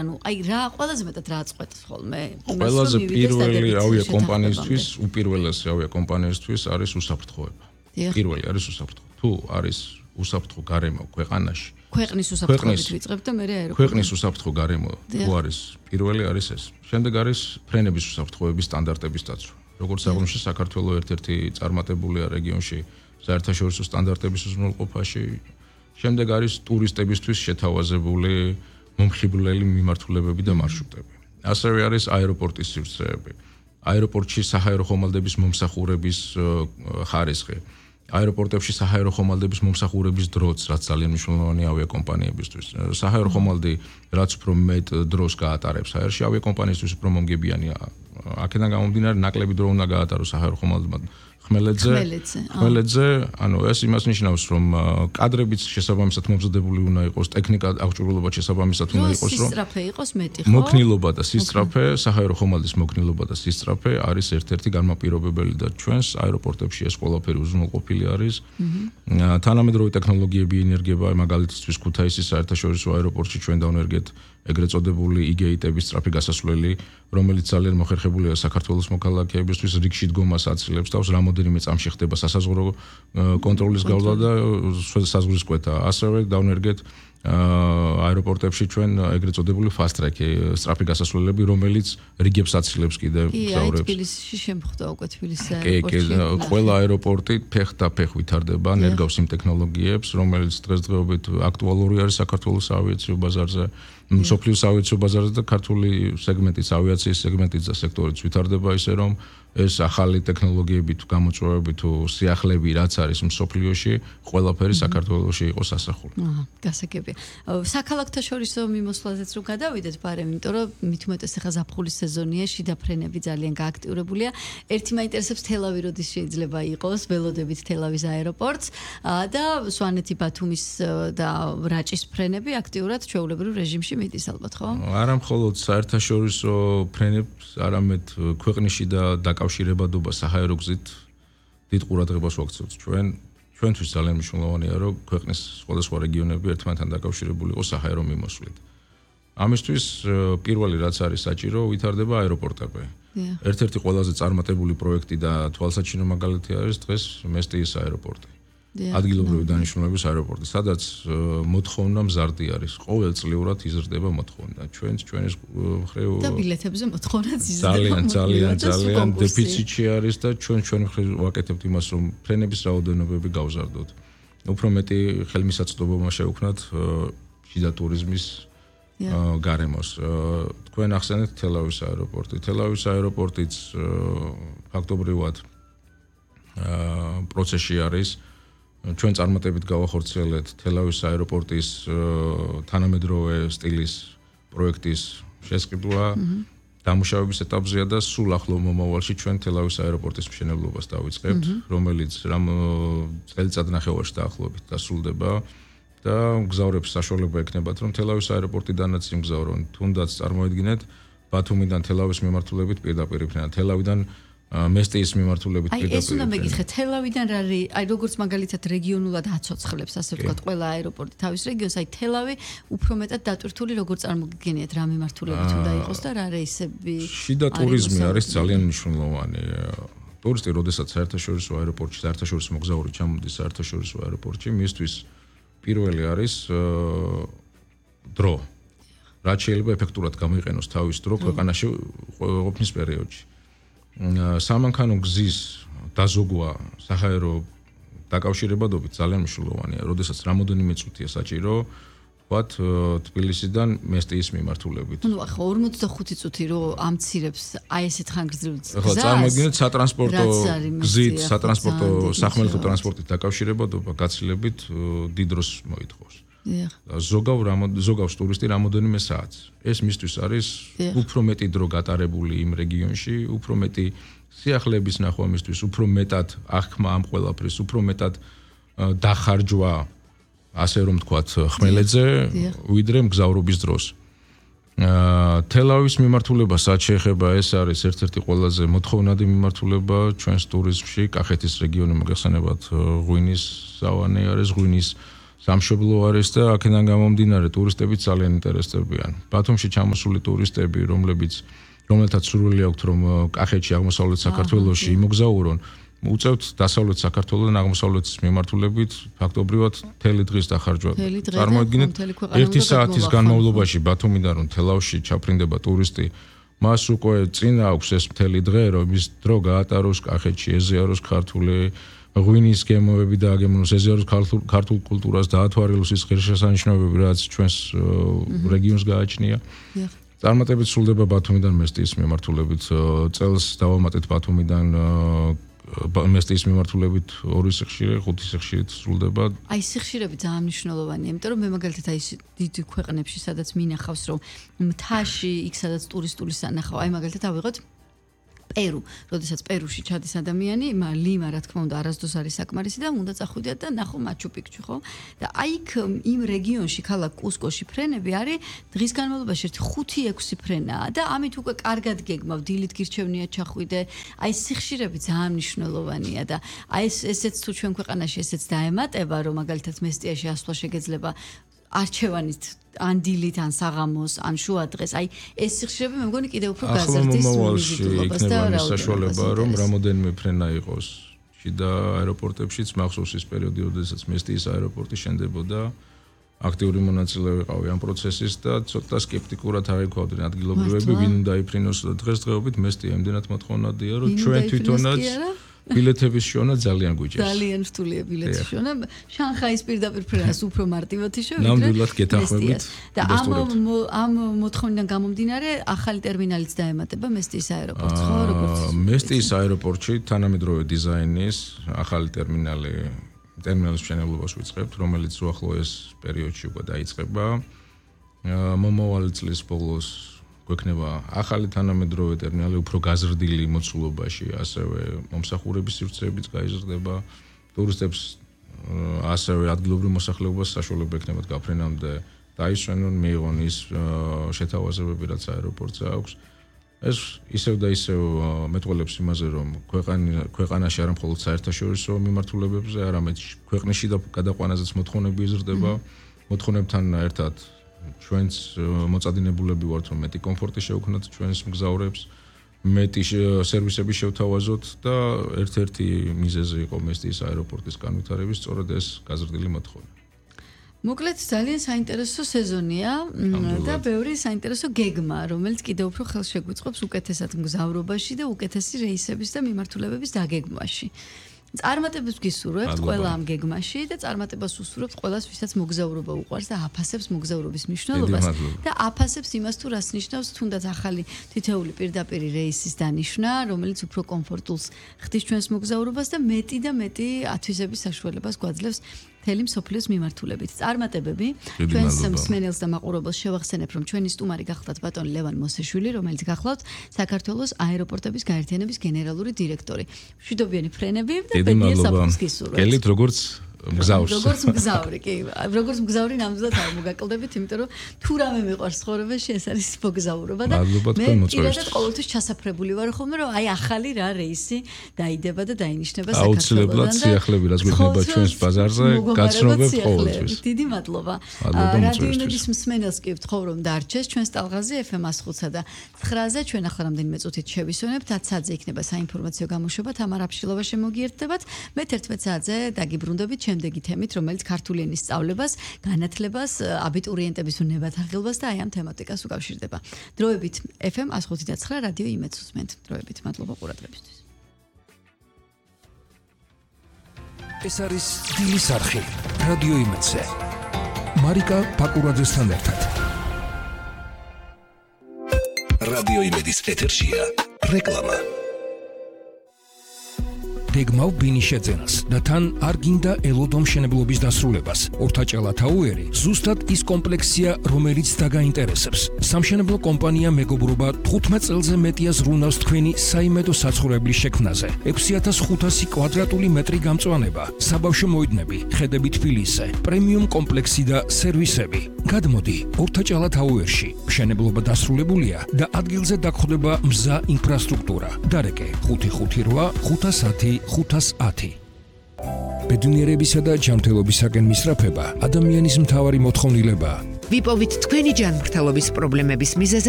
ანუ აი რა ყველაზე მეტად რა წყვეტს ხოლმე? ყველაზე პირველი ავიაკომპანიისთვის, უპირველესი ავიაკომპანიისთვის არის უსაფრთხოება. პირველი არის უსაფრთხო. თუ არის უსაფრთხო გარემო ქვეყანაში, ქვეყნის უსაფრთხოებით ვიწყებთ და მე აეროპორტი. ქვეყნის უსაფრთხო გარემო თუ არის პირველი არის ეს. შემდეგ არის ფრენების უსაფრთხოების სტანდარტების დაცვა. როგორც აღნიშნე, საქართველოს ერთ-ერთი წარმატებულია რეგიონში საერთაშორისო სტანდარტების უზრუნველყოფაში. შემდეგ არის ტურისტებისთვის შეთავაზებული მომხიბვლელი მიმართულებები და მარშრუტები. ასევე არის აეროპორტის სივრცეები. აეროპორტში საჰაერო ხომალდების მომსახურების ხარისხი. აეროპორტებში საჰაერო ხომალდების მომსახურების დროც, რაც ძალიან მნიშვნელოვანია ავიაკომპანიებისთვის. საჰაერო ხომალდი რაც უფრო მეტ დროს გაატარებს აერში, ავიაკომპანიისთვის უფრო მომგებიანია. აქედან გამომდინარე, ნაკლები დრო უნდა გაატაროს საჰაერო ხომალდმა ხმელეთზე, ანუ ეს იმას ნიშნავს, რომ კადრებიც შესაბამისად მომზადებული უნდა იყოს, ტექნიკა აღჭურვილობა შესაბამისად უნდა იყოს, რომ სისწრაფე იყოს მეტი, ხო? მოქნილობა და სისწრაფე, საჰაერო ხომალდის მოქნილობა და სისწრაფე არის ერთ-ერთი განმაპირობებელი და ჩვენს აეროპორტებში ეს ყველაფერი უზრუნველყოფილი არის. თანამედროვე ტექნოლოგიები ინერგება, მაგალითისთვის ქუთაისის საერთაშორისო აეროპორტში ჩვენ დავნერგეთ ეგრეთ წოდებული იგეიტების სწრაფი გასასვლელი, რომელიც ძალიან მოხერხებულია საქართველოს მოქალაქეებისთვის, რიგში დგომას აცილებს თავს, რამოდენიმე წამში ხდება სასაზღვრო კონტროლის გავლა და საზღვრის კვეთა. ასევე დავნერგეთ აეროპორტებში ჩვენ ეგრეთ წოდებული fast track სწრაფი გასასვლელები, რომელიც რიგებს აცილებს კიდევ მგზავრებს. თბილისში შემხვდა უკვე თბილისის აეროპორტში. ყველა აეროპორტი ფეხ ვითარდება, ნერგავს იმ ტექნოლოგიებს, რომელიც დღესდღეობით აქტუალური არის საქართველოს ავიაციო ბაზარზე. მსოფლიოს ავიაციო ბაზარზე და ქართული სეგმენტიც, ავიაციის სეგმენტიც და სექტორიც ვითარდება ისე რომ ეს ახალი ტექნოლოგიები თუ გამოწვევები თუ სიახლეები რაც არის მსოფლიოში, ყველაფერი საქართველოში იყოს ასახული. გასაგებია. საქალაქოთა შორისო მიმოსვლაზეც რო გადავიდეთ ბარემ, იმიტომ რომ მით უმეტეს ახლა ზაფხულის სეზონია, შიდა ფრენები ძალიან გააქტიურებულია. ერთი მაინტერესებს თელავი როდის შეიძლება იყოს, ველოდებით თელავის აეროპორტს და სვანეთი ბათუმის და რაჭის ფრენები აქტიურად ჩვეულებრივ რეჟიმში მიდის ალბათ, ხო? არა მხოლოდ საერთაშორისო ფრენებს, არამედ ქვეყნიში და დაკავშირებადობა საჰაერო გზით დიდ ყურადღებას ვაქცევთ ჩვენთვის ძალიან მნიშვნელოვანია, რომ ქვეყნის სხვადასხვა რეგიონები ერთმანეთთან დაკავშირებული იყოს საჰაერო მიმოსვლით. ამისთვის პირველი რაც არის საჭირო, ვითარდება აეროპორტები. ერთ-ერთი ყველაზე წარმატებული პროექტი და თვალსაჩინო მაგალითი არის დღეს მესტიის აეროპორტი. ადგილობრივი დანიშნულების აეროპორტი, სადაც მოთხოვნა მზარდი არის. ყოველწლიურად იზრდება მოთხოვნა. ჩვენს მხრივ და ბილეთებზე მოთხოვნაც იზრდება. ძალიან დეფიციტი არის და ჩვენ მხრივ ვაკეთებთ იმას, რომ ფრენების რაოდენობები გავზარდოთ. უფრო მეტი ხელმისაწვდომობა შევქმნათ შიდა ტურიზმის გარემოს. თქვენ ახსენეთ თელავის აეროპორტი. თელავის აეროპორტიც ფაქტობრივად პროცესში არის. ჩვენ წარმატებით გავახორციელეთ თელავის აეროპორტის თანამედროვე სტილის პროექტის შესყიდვა. დამუშავების ეტაპზეა და სულ ახლო მომავალში ჩვენ თელავის აეროპორტის მშენებლობას დავიწყებთ, რომელიც წელიწად ნახევარში დაახლოებით დასრულდება და მგზავრებს საშუალება ექნებათ, რომ თელავის აეროპორტიდანაც იმგზავრონ, თუნდაც წარმოედგინეთ ბათუმიდან თელავის მიმართულებით პირდაპირ ფრენა, თელავიდან მესტიის მიმართულებით პირდაპირ. ეს უნდა მეკითხეთ, თელავიდან რა როგორც მაგალითად რეგიონულად აცოცხლებს, ასე ვთქვათ, ყველა აეროპორტი თავის რეგიონს, თელავი უფრო მეტად დატვირთული როგორ წარმოგიდგენიათ რა მიმართულებით უნდა იყოს და რა რეისები. შიდა ტურიზმი არის ძალიან მნიშვნელოვანი. ტურისტი, როდესაც საერთაშორისო აეროპორტში, საერთაშორისო მოგზაური ჩამოდის საერთაშორისო აეროპორტში, მისთვის პირველი არის დრო. რაც შეიძლება ეფექტურად გამოიყენოს თავის დრო ქვეყანაში ყოფნის პერიოდში. სამანქანო გზის დაზოგვა საჰაერო დაკავშირებადობით ძალიან მნიშვნელოვანია, როდესაც რამოდენიმე წუთია საჭირო, ვთქვათ, თბილისიდან მესტიის მიმართულებით. ნუ ახლა 45 წუთი რო ამცირებს აი ესეთ ხანგრძლივ გზას. ახლა წარმოგიდგენთ სატრანსპორტო გზით, სატრანსპორტო სახმელეთო ტრანსპორტით დაკავშირებადობა გაცილებით დიდ დროს მოითხოვს. ზოგავს ტურისტი რამოდენიმე საათს. ეს მისთვის არის უფრო მეტი დრო გატარებული იმ რეგიონში, უფრო მეტი სიახლეების ნახვა მისთვის, უფრო მეტად აღქმა ამ ყველაფრის, უფრო მეტად დახარჯვა, ასე რომ ვთქვათ, ხმელეთზე, ვიდრე მგზავრობის დროს. თელავის მიმართულება რაც შეეხება, ეს არის ერთ-ერთი ყველაზე მოთხოვნადი მიმართულება ჩვენს ტურიზმში, კახეთის რეგიონი მოგეხსენებათ, ღვინის სავანე არის, ღვინის სამშობლო არის და აქედან გამომდინარე ტურისტებიც ძალიან ინტერესდებიან. ბათუმში ჩამოსული ტურისტები, რომელთაც სურვილი აქვთ რომ კახეთში, აღმოსავლეთ საქართველოში იმოგზაურონ, უწევთ დასავლეთ საქართველოსთან აღმოსავლეთის მიმართულებით ფაქტობრივად მთელი დღის დახარჯვა. წარმოიდგინეთ, 1 საათის განმავლობაში ბათუმიდან რომ თელავში ჩაფრინდება ტურისტი, მას უკვე წინ აქვს ეს მთელი დღე, რომ ის დრო გაატაროს კახეთში, ეზიაროს ქართული ღვინის გემოები და აგემონოს, ეზიაროს ქართულ კულტურას, დაათვალოს ის ღირსშესანიშნაობები, რაც ჩვენს რეგიონს გააჩნია. წარმატებით სრულდება ბათუმიდან მესტიის მიმართულებით. წელს დავამატეთ ბათუმიდან მესტიის მიმართულებით 2 სიხშირე, 5 სიხშირით სრულდება. აი სიხშირები ძალიან მნიშვნელოვანია, იმიტომ რომ მე მაგალითად აი დიდ ქვეყნებში, სადაც მინახავს რომ მთაში, იქ სადაც ტურისტული სანახავ, აი მაგალითად ავიღოთ პერუ, როდესაც პერუში ჩადის ადამიანი, ლიმა რა თქმა უნდა არასდროს არის საკმარისი და უნდა წახვიდეთ და ნახო მაჩუ-პიქჩუ, ხო? და აი იქ იმ რეგიონში, ქალაქ კუსკოში ფრენები არის დღის განმავლობაში 5-6 ფრენაა და ამით უკვე კარგად გეგმავ, დილით გირჩევნია ჩახვიდე. აი სიხშირები ძალიან მნიშვნელოვანია და აი ესეც თუ ჩვენ ქვეყანაში ესეც დაემატება, რომ მაგალითად მესტიაში ასვლა შეგეძლება არჩევანით ან დილით, ან საღამოს, ან შუა დღეს. აი ეს სიხშირები მე მგონი კიდევ უფრო გაზრდის მიზიდულობას და საშუალება რომ რამოდენიმე ფრენა იყოს. შიდა აეროპორტებშიც მახსოვს ის პერიოდი, როდესაც მესტიის აეროპორტი შენდებოდა. აქტიური მონაწილე ვიყავი ამ პროცესის და ცოტა სკეპტიკურად აღიქვავდნენ ადგილობრივები, ვინ უნდა იფრინოს და დღესდღეობით მესტია იმდენად მოთხოვნადია, რომ ჩვენ თვითონაც ბილეთების შონა ძალიან გვიჭერს. ძალიან რთულია ბილეთის შონა. შანხაის პირდაპირ ფრენას უფრო მარტივად შევიდრე. ნამდვილად გეთანხმებით. და ამ მოთხოვნიდან გამომდინარე, ახალი ტერმინალიც დაემატება მესტიის აეროპორტს, ხო, როგორც მესტიის აეროპორტში თანამედროვე დიზაინის ახალი ტერმინალის მშენებლობას ვიწყებთ, რომელიც უახლოეს პერიოდში უკვე დაიწყება. მომავალი წლის ბოლოს გვექნება ახალი თანამედროვე ტერმინალი უფრო გაზრდილი მოცულობაში, ასევე მომსახურების სივრცეებიც გაიზრდება, ტურისტებს ასევე ადგილობრივ მოსახლეობას საშუალება ექნებათ გაფრენამდე დაისვენონ, მიიღონ ის შეთავაზებები, რაც აეროპორტზე აქვს. ეს ისევ და ისევ მეტყველებს იმაზე, რომ ქვეყანაში არა მხოლოდ საერთაშორისო მიმართულებებზე, არამედ ქვეყნის და გადაყვანაზეც მოთხოვნები იზრდება, მოთხოვნებთან ერთად ჩვენს მოწადინებულები ვართ, რომ მეტი კომფორტი შევქმნათ ჩვენს მგზავრებს, მეტი სერვისები შევთავაზოთ და ერთ-ერთი მიზეზი იყო მესტიის აეროპორტის განვითარების სწორედ ეს გაზრდილი მოთხოვნა. მოკლედ ძალიან საინტერესო სეზონია და ბევრი საინტერესო გეგმა, რომელიც კიდევ უფრო ხელს შეგვიწყობს უკეთესად მგზავრობაში და უკეთესი რეისების და მიმართულებების დაგეგმვაში. წარმატებას გისურვებთ ყველა ამ გეგმაში და წარმატებას უსურვებთ ყველას, ვისაც მოგზაურობა უყვარს და აფასებს მოგზაურობის მნიშვნელობას და აფასებს იმას თუ რას ნიშნავს თუნდაც ახალი თითეული პირდაპირი რეისის დანიშვნა, რომელიც უფრო კომფორტულს ხდის ჩვენს მოგზაურობას და მეტი და მეტი ათვისების საშუალებას გვაძლევს მთელი მსოფლიოს მიმართულებით. წარმატებები ჩვენს მსმენელს და მაყურებელს შევახსენებ, რომ ჩვენი სტუმარი გახლავთ ბატონი ლევან მოსეშვილი, რომელიც გახლავთ საქართველოს აეროპორტების გაერთიანების გენერალური დირექტორი. მშვიდობიანი ფრენები და ბედნიერ საფრთხეს გისურვებთ. გელით როგორც მგზავრს. როგორც მგზავრი, კი, როგორც მგზავრი ნამდვილად არ მოგაკლდებით, იმიტომ რომ თუ რამე მიყვარს ცხოვრებაში, ეს არის მოგზაურობა და მე პირადად ყოველთვის ჩასაფრებული ვარ ხოლმე, რომ აი ახალი რა რეისი დაიდება და დაინიშნება საქართველოსთან. აუცილებლად სიახლები რაც გვექნება ჩვენს ბაზარზე, გაცნობებთ ყოველთვის. დიდი მადლობა. რადიო იმედის მსმენელს კი ვთხოვ, რომ დარჩეს ჩვენს ტალღაზე FM 105-სა და 9-ზე ჩვენ ახლა რამდენიმე წუთით შევისვენებთ, 10 საათზე იქნება საინფორმაციო გამოშვება, თამარ აფშილოვა შემოგიერთდებათ. მე 11 საათზე დაგიბრუნდებით შემდეგი თემით, რომელიც ქართული ენის სწავლებას, განათლებას, აბიტურიენტების უნებათაღელვას და აი ამ თემატიკას უკავშირდება. დროებით FM 105.9 რადიო იმედს უსმენთ. დროებით მადლობა ყურადღებისთვის. ეს არის სტილის არხი რადიო იმედზე. მარიკა პაკურაძესთან ერთად. რადიო იმედის ეთერშია რეკლამა. გეგმავ ბინიშეძენას და თან არ გინდა ელოდო მშენებლობის დასრულებას. ორთაჭალა თაუერი ზუსტად ის კომპლექსია, რომელიც დაგაინტერესებს. სამშენებლო კომპანია მეგობრობა 15 წელზე მეტია ზრუნავს თქვენი საიმედო საცხოვრებლის შექმნაზე. 6500 კვადრატული მეტრი გამწვანება, საბავშვო მოედნები, ხედები თბილისზე, პრემიუმ კომპლექსი და სერვისები. გადმოდი ორთაჭალა თაუერში. მშენებლობა დასრულებულია და ადგილზე დაგხვდება მზა ინფრასტრუქტურა. დარეკე 558 510 510 ბედნიერებისა და ჯანმრთელობისაკენ მისწრაფება ადამიანის მთავარი მოთხოვნილებაა. ვიპოვით თქვენი ჯანმრთელობის პრობლემების მიზეზები